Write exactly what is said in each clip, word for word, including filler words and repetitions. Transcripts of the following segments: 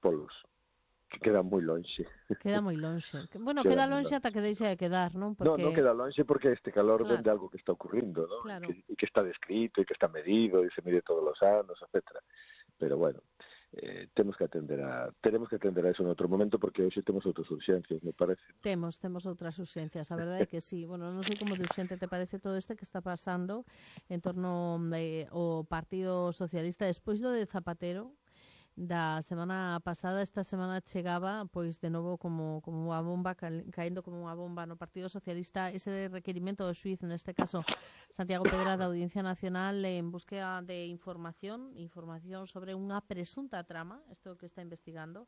polos, que queda moi lonxe. Queda moi lonxe. Bueno, Queda queda moi lonxe lonxe. ata que deixa de quedar, non? No, Porque, non queda lonxe porque este calor claro, ven de algo que está ocurrindo, ¿no? E claro. que, e que está descrito, e que está medido, e se mide todos os anos, etcétera. Pero bueno, eh, temos que atender a tenemos que atender a eso en outro momento porque hoxe temos outras urxencias, me parece. Temos, temos outras urxencias, a verdade é que sí. Bueno, non sei como de urxente te parece todo este que está pasando en torno eh, ao Partido Socialista despois do de Zapatero da semana pasada. Esta semana chegaba pois de novo como, como unha bomba, caendo como unha bomba no Partido Socialista ese requerimento do xuiz, neste caso Santiago Pedra, da Audiencia Nacional, en búsqueda de información información sobre unha presunta trama, isto que está investigando.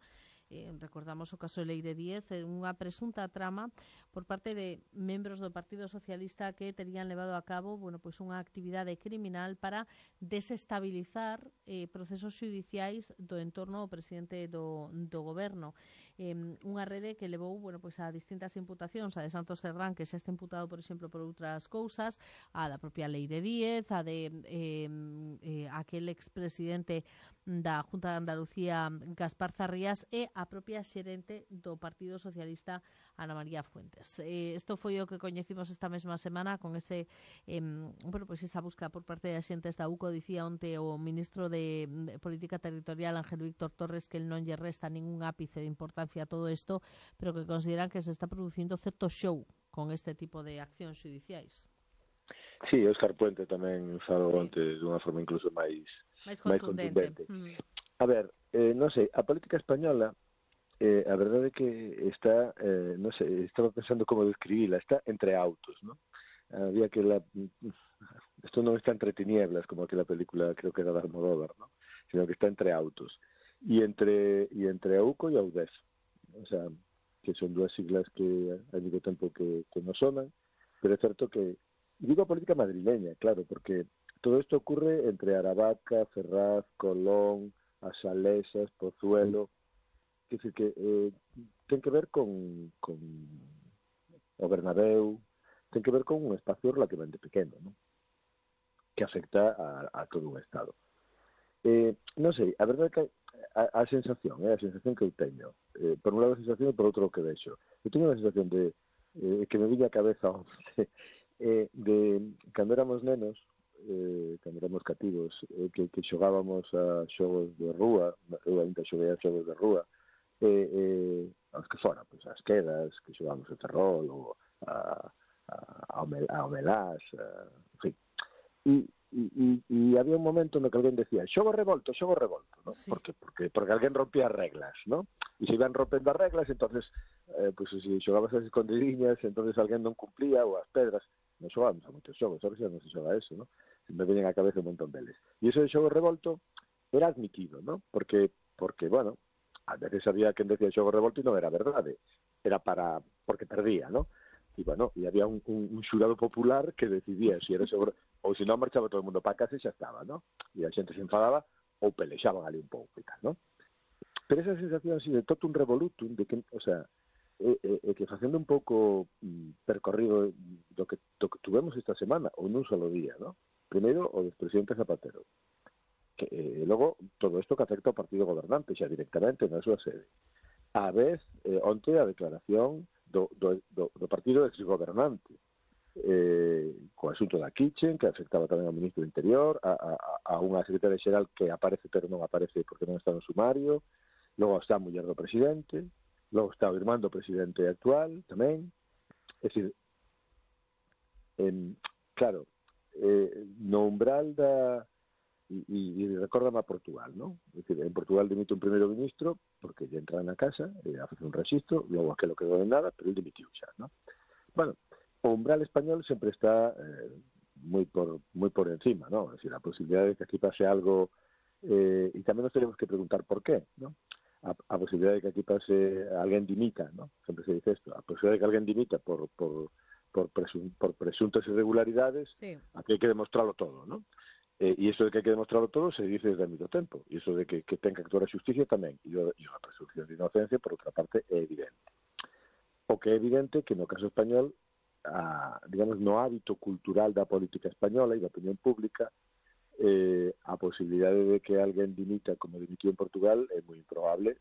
Eh, recordamos o caso de Lei de Diez, unha presunta trama por parte de membros do Partido Socialista que terían levado a cabo, bueno, pois unha actividade criminal para desestabilizar eh, procesos judiciais do entorno ao presidente do, do goberno. Eh, unha rede que levou, bueno, pois a distintas imputacións, a de Santos Cerdán, que xa está imputado, por exemplo, por outras cousas, a da propia Lei de Diez, a de eh, eh, aquel expresidente da Junta de Andalucía, Gaspar Zarrías, e a propia xerente do Partido Socialista, Ana María Fuentes. Eh, isto foi o que coñecimos esta mesma semana con ese, eh, bueno, pois esa busca por parte de xentes da U C O. Dicía onte o ministro de, de Política Territorial, Ángel Víctor Torres, que el non lle resta ningún ápice de importancia a todo isto, pero que consideran que se está producindo certo show con este tipo de accións judiciais. Sí, Óscar Puente tamén falou Sí. onte dunha forma incluso máis máis máis contundente. contundente. Mm. A ver, eh, non sei, a política española, eh, a verdade é que está, eh, non sei, estaba pensando como describila, está entre autos, ¿no? Había que la... Esto non está entre tinieblas, como aquela película, creo que era de Almodóvar, ¿no? Sino que está entre autos. E entre, e entre a U C O e a U D E F. O sea, que son dúas siglas que hai moito tempo que, que nos sonan, pero é certo que... Digo a política madrileña, claro, porque todo isto ocurre entre Aravaca, Ferraz, Colón, As Salesas, Pozuelo, que decir que eh, ten que ver con, con o Bernabéu, ten que ver con un espacio relativamente pequeno, ¿no? Que afecta a, a todo un Estado. Eh, non sei, a verdade é que a, a sensación, é eh, a sensación que eu teño, eh, por un lado a sensación e por outro o que vexo. Eu teño unha sensación de eh, que me viña a cabeza eh, de cando éramos nenos, eh, cando éramos cativos, eh, que, que xogábamos a xogos de rúa, eu ainda xoguei a xogos de rúa, eh, eh, aos que fora, pois as quedas, que xogábamos o terrol, ou a, a, a, a omelás, a, en fin. E, e, e había un momento no que alguén decía xogo revolto, xogo revolto, ¿no? Sí. Porque, porque, porque alguén rompía as reglas, ¿no? E se iban rompendo as reglas, entonces eh, pues, se xogabas as escondidiñas, entonces alguén non cumplía, ou as pedras. Non xogábamos a moitos xogos, ahora xa non se xoga eso, ¿no? Se me veñen a cabeza un montón deles. E iso de xogo revolto era admitido, ¿no? Porque, porque bueno, a veces había quen decía xogo revolto e non era verdade, era para porque perdía, ¿no? E, bueno, e había un, un, un xurado popular que decidía se era xogo ou se non marchaba todo o mundo para casa e xa estaba, ¿no? E a xente se enfadaba ou pelexaban ali un pouco e tal, ¿no? Pero esa sensación así de totum revolutum, de que, o sea, é, é, é que facendo un pouco mm, percorrido do que, do que tuvemos esta semana, ou nun solo día, ¿no? Primeiro, o despresidente Zapatero, que eh, logo todo isto que afecta ao partido gobernante, xa directamente na súa sede. A vez, eh, onte a declaración do, do, do, do partido exgobernante, eh, co asunto da Kitchen, que afectaba tamén ao ministro do Interior, a, a, a unha secretaria xeral que aparece pero non aparece porque non está no sumario, logo está a muller do presidente, logo está o irmán do presidente actual tamén. É dicir, eh, claro, eh, no umbral da... E, e, e recórdame a Portugal, ¿no? É dicir, en Portugal dimite un primeiro ministro porque lle entra na casa, e hace un registro, logo aquelo quedou en nada, pero ele dimitiu xa, ¿no? Bueno, o umbral español sempre está eh, moi por moi por encima, ¿no? Es decir, a posibilidade de que aquí pase algo, eh, e tamén nos tenemos que preguntar por qué, ¿no? A, a posibilidade de que aquí pase alguén dimita, ¿no? Sempre se dice esto, a posibilidade de que alguén dimita por por por, presun, por presuntas irregularidades, Sí. aquí hai que demostrarlo todo, ¿no? Eh, e iso de que hai que demostrarlo todo se dice desde moito tempo, e iso de que, que ten que actuar a xusticia tamén, e a presunción de inocencia, por outra parte, é evidente. O que é evidente que no caso español, a, digamos, no hábito cultural da política española e da opinión pública, eh, a posibilidade de que alguén dimita como dimitiu en Portugal é moi improbable,